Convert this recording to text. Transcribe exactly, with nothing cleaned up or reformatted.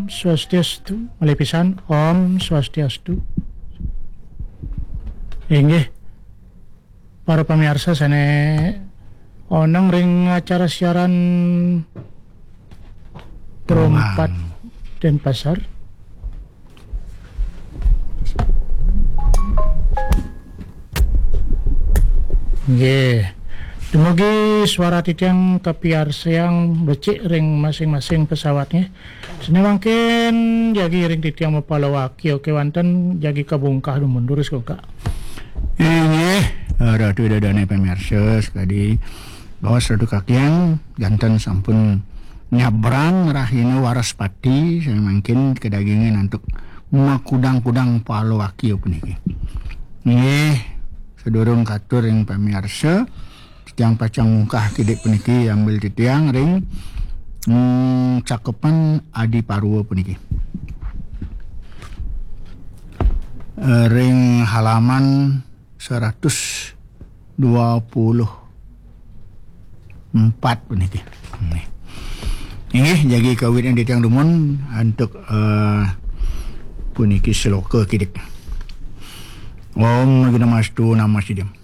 Swastiastu, malih pisan, Om Swastiastu. Inggih, para pamiarsa sané oneng ring acara siaran Pro Empat Denpasar. Nggih. Dumugi suara titiang kapiarsayang becik ring masing-masing pesawatnya. Sané mangkin jagi ring titiang mapalawaki, oké, wantah jagi kabungkah dumun durus, Kak. Inggih, Ratu Ida Dané pamiarsa sakadi, baos Ratu Kakiang janten sampun nyabrang rahina Waraspati, sané mangkin kadagingan antuk makudang-kudang palawaki puniki. Inggih, sadurung katur ring pamiarsa, titiang pacang mungkah kidik puniki, ambil titiang ring, hmm, cakepan Adiparwa puniki. Eh, ring halaman seratus dua puluh empat puniki. Nih. Inggih, jagi kawitin titiang dumun antuk, eh, puniki sloka kidik. Om Agni Namastu Namasidam.